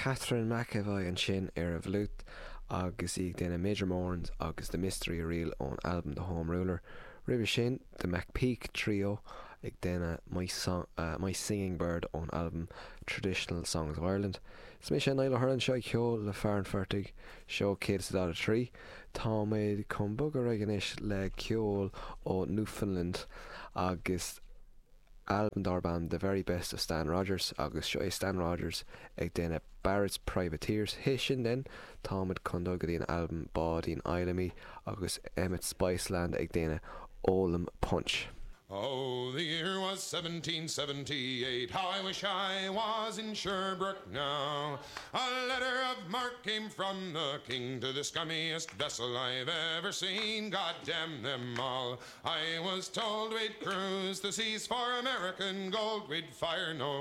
Catherine McEvoy ansin ar an bhfliúit agus í ag déanamh Major Moran's agus The Mystery Reel ón albam The Home Ruler. Roimhe sin, The McPeak Trio ag déanamh My, Song, uh, My Singing Bird ón albam Traditional Songs of Ireland. Is mise Niall Ó hUrlain anseo ag ceol le fear an phortaigh, seó 143. Táimid chun bogadh ar aghaidh anois le ceol ó Newfoundland agus albam darb ainm The Very Best of Stan Rogers agus seo é Stan Rogers ag déanamh Barrett's Privateers. Théis sin then, táimid chun dul go dtí an albam Báidín Fheidhlimidh agus Emmet Spiceland ag déanamh Ólaim Punch. Oh, the year was 1778, how I wish I was in Sherbrooke now. A letter of marque came from the king to the scummiest vessel I've ever seen. God damn them all. I was told we'd cruise the seas for American gold, we'd fire no.